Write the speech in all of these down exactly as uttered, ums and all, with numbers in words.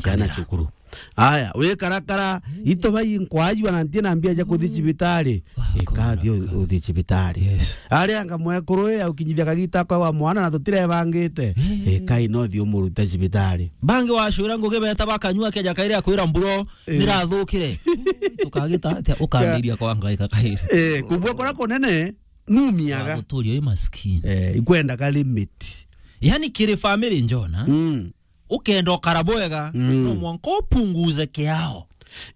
Kana cukuru. Aya, wikarakara, ito bai nkwajua na ntie na mbia ja kuthi cibitari. Ikathi uthi cibitari. Yes. Aria anga mwekuru e, aukinyithia kagita kwa wa mwana na tutirebangite. Ikai no thi umurute cibitari. Bangi wacura ngugi beta bakanyua keja kaire akwira mburo, nirathukire. Tukagita atia ukambiria kwa ngaika kaire. Eh, kubua kora kunene, numiaga. Guturia wi maskini. Eh, ikwendaga limit. Yani kiri family njona. Mm. Ukenda ukara bwega, no mwanka upunguze kiao.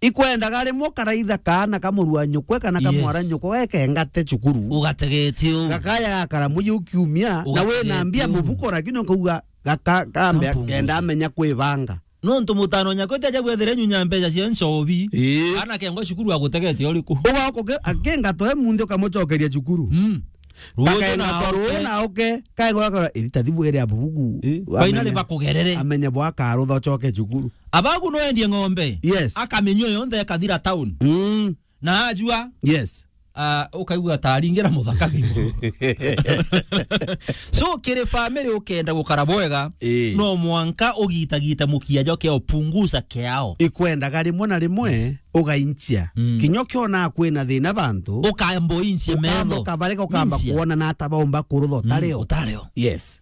Ikwendaga rimwe ukaraitha kaana ka muru wa nyukwe kana ka mwara nyukwe, wekengate cukuru. Ugategetie u. Gakaya gakara muji ukiumia, na wina mbia mubuko, lakini ukauga gaka kambe kenda amenya kwibanga. Nontu mutano nyakwe ti aja bwethere nyunya mbeca cia ncobi. Ii. Ana kengwa cukuru agutegetie uriku? Uga uke-, akenga toe munthi ukamucokeria cukuru. Mm. Ruuju na uke. Bakaenga twa ruu na uke, kaigwa akora, "Iri ta thibu iri abubugu." Ii. Baina ri bakugerere. Amenye bwa karutha ucoke cukuru. Abagu no endie ng'ombe. Yes. Akaminyua yonthe ekathira town. Mm. Na ajua. Yes. Ah, ukaigua ta aringira muthaka thimu. So, kiri family ukenda gukara bwega, ii, no mwanka ugitagite mukia jo kiao, punguza kiao. Ikwendaga rimwe na rimwe, yes, ugainchia. Mm. Kinya ukiona kwina thina bantu, ukambo inchie metho. Ukambo kabareka, ukamba kuona na ata baumba kurutha utareo. Mm, utareo. Yes.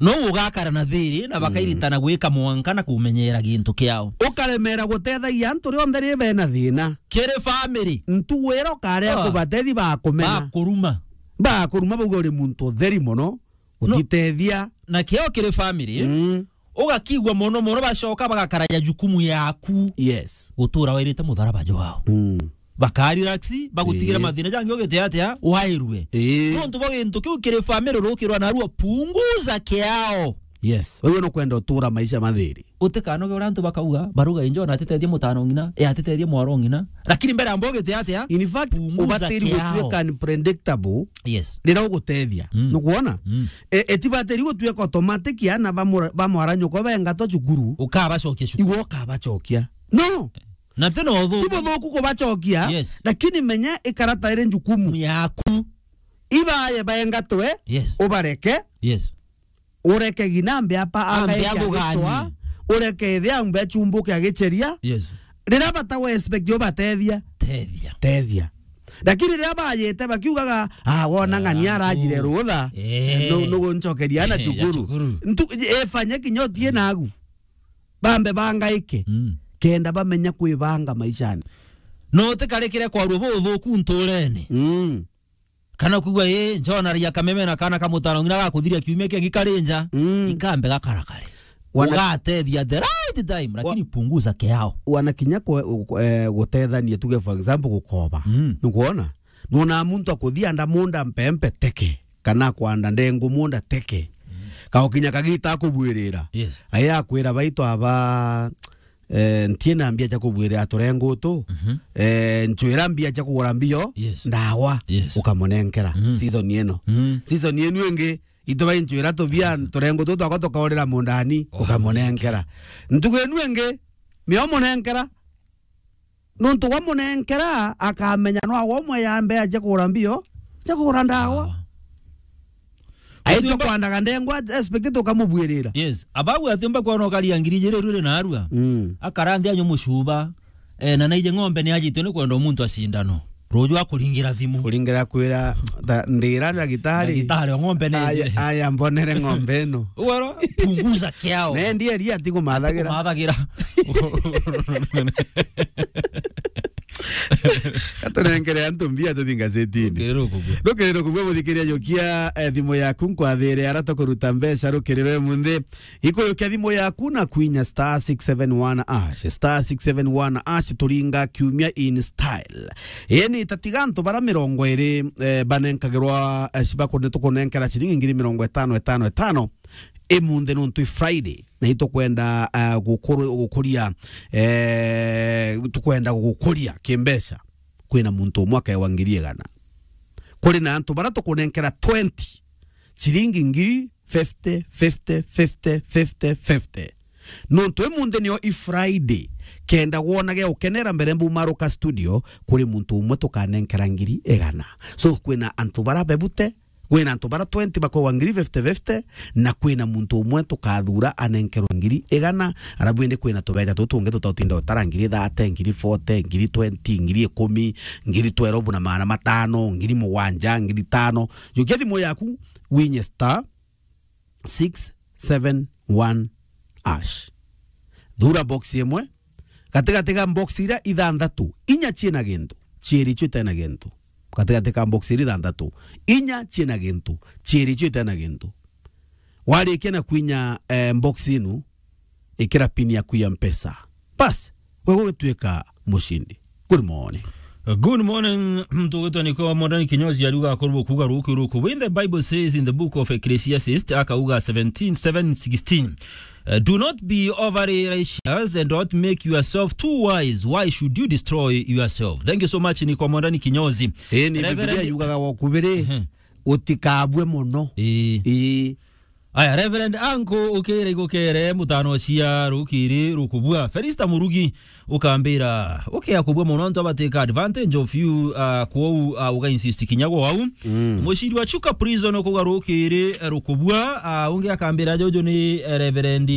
No ugakara na thiri na bakairitana gwika mwanka na kumenyera gintu kiao. Ukaremera gutethagia antu rionthe ri bena thina. Kiri family. Ntugu ira ukarea kubatethi bakumena. Bakuruma. Bakuruma bauga uri muntu utheri mono, utitethia. Na kio kiri family, mm, ugakigua mono mono bacoka bagakaraja jukumu yaku. Yes. Gutura wairite mutharaba jwao. Mm. Baka relax, bagutigira mathina jangi ugite atia, wairue. Ii. Nontu bwa gintu kiu kiri family rukirwa narua, punguza kiao. Yes. Wewe no kwenda utura maisha mathiri. Utikanoge uria antu bakauga, baruga injo na atitethie mutano ng'ina, e atitethie mwaro ng'ina. Lakini mbere amba ugite atia, in fact, punguza ubatiri kiao. Gutuika unpredictable. Yes. Rira ugutethia. Mm. Nukwona? Mm. E, etibatiri gutuika automatic ana ba mura-, ba mwara nyoko bengatwa cukuru. Ukabacokia cukuru. Iwe ukabacokia. No. Na tena uthuku. Ti buthuku kubacokia, yes, lakini menya ikara ta iri njukumu yaku. Ibaye baengatwe, yes, ubareke. Yes. Ureke ginambe apa ambe agaike agutwa, aguganie. Ureke ithe ambe achumbuke agicheria. Yes. Rira bata we expect ubatethia. Tethia. Tethia. Lakini rira bayite bakiugaga, "Ah, wona ng'ania arajire rutha." Eh. Nu-, nuguncokeria na ya cukuru. Cukuru. Ntu-, efanye kinya utie nagu. Bambe bangaike. Mm. Kenda bamenya kwibanga maishani. No utikarikire kwarua buthuku nturene. Mm. Kana kwigua, "Ii, njona ria kameme na kana ka mutano ng'ina gakuthiria kiumia kingi kari nja." Mm. Ikambe gakarakare. Wana- Ugatethia the right time, lakini wa- punguza kiao. Wana kinya kwe-, kwe-, eh, gutethania, tuge for example, gukoba. Mm. Nukwona? Nona muntu akuthia nda munda mpempe teke. Kana kwanda ndengu munda teke. Mm. Kaukinya kagita akubwirira. Yes. Aya akwira, "Baitu aba, eh, ntie na mbia cia kubwirira turengu tu. Mhm. Eh, nchwira mbia cia kugura mbio, yes, ndawa." Yes. Ukamunenkera. Mhm. Season ino. Mhm. Season ino ingi, itu bai nchwira tubia turengu tu twakwa tukaurira mundani, ukamunenkera. Ntugu ino ingi, mio munenkera. Nontu gwa munenkera, akamenya no agwe umwe ya mbea cia kugura mbio, cia kugura ndawa. Ndawa. Aitwa kwandaga ndengwa, expected ukamubwirira. Yes. Abagu atiumba kwona ukaria ngiri ijiri ruri narua. Mm. Akara nthi anyu mucuba. Eh, na naije ng'ombe ni ajitwe ni kwenda muntu acindano. Ruju akuringira thimu. Kuringira kwira, ta, ndira ndagitari. Ndagitari wa ng'ombe ni aya, aya mbonere ng'ombe ino. Ugoro, punguza kiao. Ne ndie ria tigo mathagira. Mathagira. Katurengere antu mbia tuthi ngazetini. Rukiriro kubua. Rukiriro kubua, muthikiria, jukia, eh, thimu yaku nkwathire ara tukuruta mbeca rukiriro munthi. Ikujukia thimu yaku na kwinya star six seven one hash, star six seven one hash, turinga kiumia in style. Eni tatiga antu bara mirongo iri, eh, banenkagirwa, eh, cibakunde tukunenkera ciringi ngiri mirongo itano, itano, itano. Imunthi nontu i Friday, na itukwenda, eh, gukuru-, gukuria, eh, tukwenda gukuria kimbeca. Kwina muntu umwe akewa ngiri igana. Kuri na antu bara tukunenkera twenty, ciringi ngiri fifty, fifty, fifty, fifty, fifty. Nontu imunthi nio i Friday, kenda wonage ukenera mbere mbumaruka studio, kuri muntu umwe tukanenkera ngiri igana. So, kwina antu bara bebute, Kwina antu bara twenty bakowa ngiri fifty fifty, na kwina muntu umwe tukathura anenkerwe ngiri igana, arabu indi kwina tubeja tutu tungi tutautinda utara ngiri thirty, ngiri forty, ngiri twenty, ngiri ikumi, ngiri twelve na magana matano, ngiri mugwanja, ngiri tano. Jukia thimu yaku, winye star six seven one hash. Thura box imwe, gatigati ga box iria ithanthatu, inya ciina gintu, ciiri cio itena gintu. Gatigati ka box iria ithanthatu, inya ciina gintu, ciiri cio itena gintu. Warikia na kwinya, eh, box inu, ikira pin yaku ya Mpesa. Bas, we gugituika mucindi. Good morning. Good morning. Muntu ugwitwa Niko Mwandani Kinyozi ariuga akorwo kuuga ruki ruku. When the Bible says in the book of Ecclesiastes, akauga seventeen, seven, sixteen, uh, "Do not be overly righteous and don't make yourself too wise. Why should you destroy yourself?" Thank you so much, Niko Mwandani Kinyozi. Ii ni Reverend Biblia yugaga wa kubiri, ehe, utikabue mono. Ii. Ii. Aya, Reverend Anko, ukira igukere, mutano cia rukiri rukubua. Felista Murugi, ukambira, ukia kubua mono, antu abateka advantage of you, uh, kwou, uh, uga insist kinya gwau. Mm. Muciri wa Chuka Prison ukuga rukiri, eh, rukubua, uh, ungi akambira, juju ni, eh, Reverend.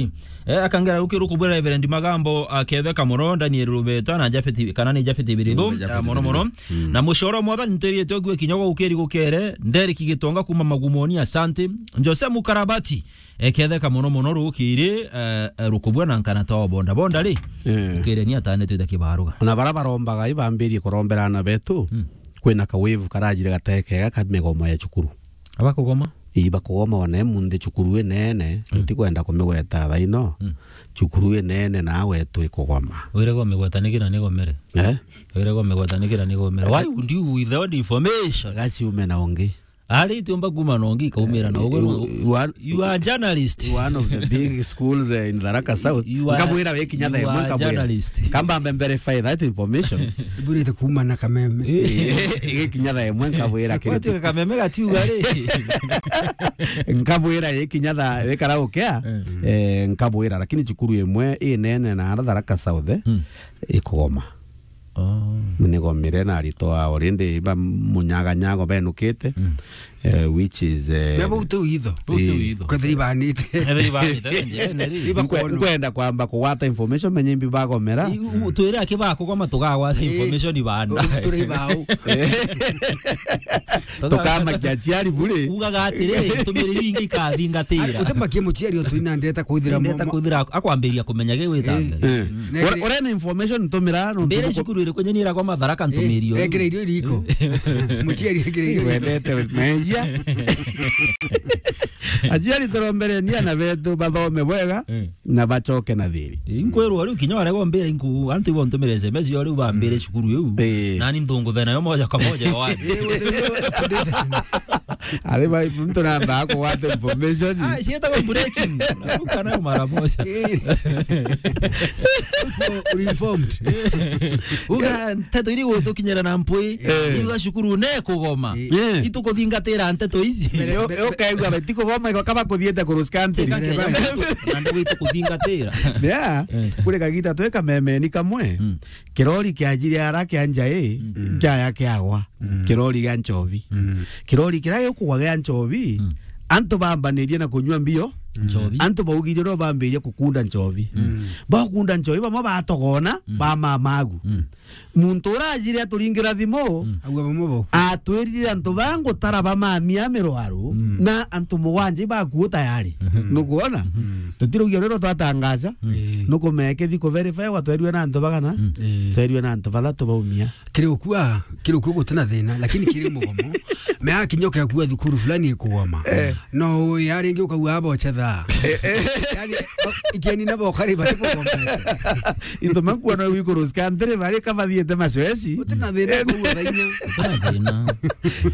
Eh, akangera rukiri rukubua Reverend Magambo, uh, Ketheka mono, Daniel Rubeta, na Jafeti, kana ni Jafeti Birithu, mm, Jafeti uh, mono mono. Birithu. Mm. Na mucoro mwathani nterie twe gwe kinya gwa ukiri gukere, Nderiki Gitonga kuma Magumoni, asante. Jose Mukarabati, eketheka mono mono rukiri, eh, eh, rukubua na nkana twa bonda bonda ri. Eh. Ukire ni atane twita kibaruga. Na bara barombaga ibambirie kurombera ana betu. Mm. Kwina ka wave karajire gateke ga ka migomo ya cukuru. Abakugoma? Ii, bakugoma one munthi cukuru inene, mm, ntikwenda kumigweta thaino. Mm. Cukuru inene na wetu ikugoma. Wire gwa migweta nikira nigomere. Eh? Wire gwa migweta nikira nigomere. Why would you withhold information? Gaciume na ungi. Ari tiumba kuma na ungi kaumira na ugo. You, you are, you are a journalist. One of the big schools, eh, in Tharaka South. You are, nkabwira we kinya you thaa imwe are nkabwira. Journalist. Kamba mbe verify that information. Burite kuma na kameme. Eh, kinya thaa imwe nkabwira kiri. Watu kameme gatiuga ri. Nkabwira ye kinya thaa wekara ukea. Mm. Eh, nkabwira, lakini cukuru imwe inene na ara Tharaka South, eh, mm, ikugoma. Oh. Nigomire na aritwa already ba munyaganyago benukite, mm, eh, which is, eh, na bau tu itho. Bau tu itho. Kwethira ibanite. Kwethira ibanite, nje, neri. Iba nkwe-, kono. Nkwenda kwamba kugwata information, menye imbi bagomera. I-, u-, twire aki bakugoma tugagwata, eh, information ibanda. Turi bau. Tukamakia aciari buri. Ugaga atiri, ntumiriri ingi ikathingatira. Utemakie muciari o twina ndeta kwithira. Ndeta mo-, kwithira akwambiria kumenya gi gwita mbere. Eh. Mm. Ure-, urena information ntumira no mbere ntuku- cukuru iri kwenye nira kwa Matharaka ntumirio. Eh, ekire irio iriko. Muciari ekire irio. Wendete mejia. Aciari turombereni ana betu bathome bwega, eh, na bacoke na thiri. Inkwirwo riu kinya ware gombira inku antu ibo ntumire S M S yo riu bambire cukuru iu. Eh. Nani ntunguthena yo moja kwa moja yo wapi? Eh, ari ba muntu namba kugwata information. Ah, cietagwo breaking. Ukana mara moja. Eh. Uko informed. Uga nteto iri gutukinyira na mpwi. Eh. Iruga cukuru ne kugoma. Eh. Itukuthingatira nteto ici. Yo, yo kaigua beti kugoma iko kaba kuthiete kuruskanti. Teka kenya na ndu itukuthingatira. Yeah. Eh. Kuri kagita tweka memeni kamwe. Mm. Kirori kiajire ara kia njai, mm, kiaya kiagwa. Mm. Kirori gia nchobi. Mm. Kirori kiria gikugwa gia nchobi, mm, antu bambanirie na kunyua mbio. Nchobi. Antu baugire no bambirie kukunda nchobi. Mm. Bakunda nchobi, bamwe batogona, mm, ba mamagu. Mm. Muntu urajire aturingira thimu, mm, agua bamwe bo. Atwirire antu bangutara bamamia mirwaru, mm, na antu mugwanja ibakuo tayari. Mm. Nukuona? Mm. Tutirugia rero twatangaza. Mm. Nukumeke thi ku verify wa twerue na antu bagana. Mm. Eh. Twerue na antu bathatu baumia. Kiri ukua, kiri ukua gutina thina, lakini kiri mugomo. Me akinya ukakua thukuru fulani ikugoma. Eh. No ya ringi ukauga abo chetha. Eh, eh. Yani, ikieni nabo kari bati kugoma. Into makua no wikuru skantire bari kabathiete macoeci. Gutina thina. Eh, kuua thainya. Gutina thina.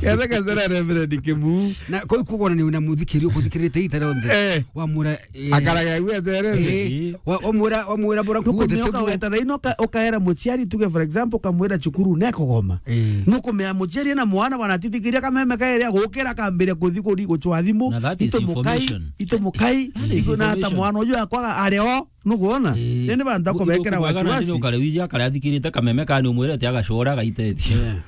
Yathe kasera Reverend Kimu. Na koi kugona ni una muthikiri ukuthikirite itara onthe. Eh. Wamura Eh. Akaraga aigua eterere. Eh. Wa-, wamwira, wamwira bora kukuthete. Ukumenya ukaweta thaino uka-, ukaera muciari, tuge for example, ukamwira cukuru nekugoma. Eh. Nukumenya muciari ena mwana bwana atitikiria kameme kaeria gukira kambiria kuthi kuri gucwa thimu. Na that is information. Itu mukai, itu mukai. That is information. Itu na ata mwana uyu akwaga ari o, nukuona? Eh. Nini bantu akubekera wasiwasi. Ukare wiji akare athikirite kameme kani umwirete agacora agaitethia. Yeah.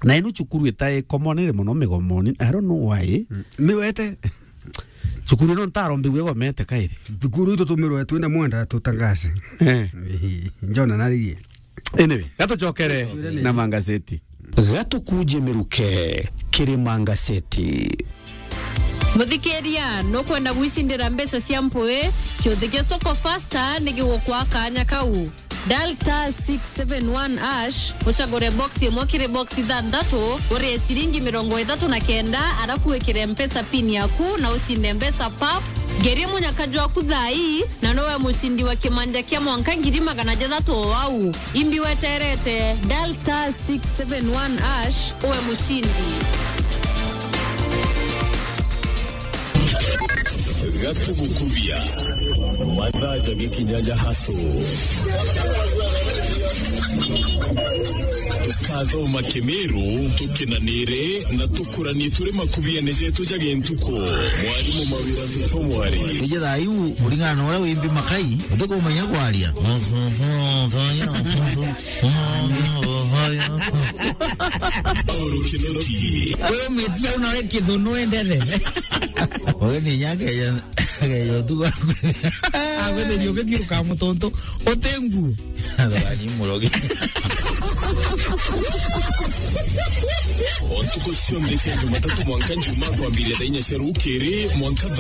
Na inu cukuru itai common iri mono migomoni. I don't know why. Mm. Miwete. Cukuru ino ntaro mbigu igomete kairi. Cukuru itu tumirwe twina mwenda tutangaze. Eh. Njona narigie. Anyway, gatucokere na mangazeti. Gatukuje miruke kiri mangazeti. Muthikiria, nukwenda gwicindira mbeca cia mpui? Kiuthi gia Soko Fasta ni gigukwa kanya kau. Dial star six seven one hash, ucagure box imwe kiri box ithanthatu, urie ciringi mirongo ithatu na kenda, arafu wikire Mpesa pin yaku na ucinde mbeca pap. Ngerie munyaka jwaku thaa ii, na nowe mucindi wa kimanja kia mwanka ngiri magana jathatu o au. Imbi weterete, dial star six seven one hash, uwe mucindi. Gatugukubia. Mathaa ja gikinya ja haso. Tukathoma Kimiru, tukinanire na tukuranie turi makubiene jetu ja gintuku. Mwarimu Mawira Ntuko Mwari. Ije thaa iu, kuringana na uria wimbi makai, utikumenya kwaria. Paul Kinoti. Wewe umetia unawe kithunu endele. Wewe ni nyake ya, ya tu. Agwethe rio githiuruka mutuntu utengu. Thogani murogi. O ntuku cionthe cia Jumatatu mwanka Njuma kwambiria thaa inya cia rukiri mwanka thaa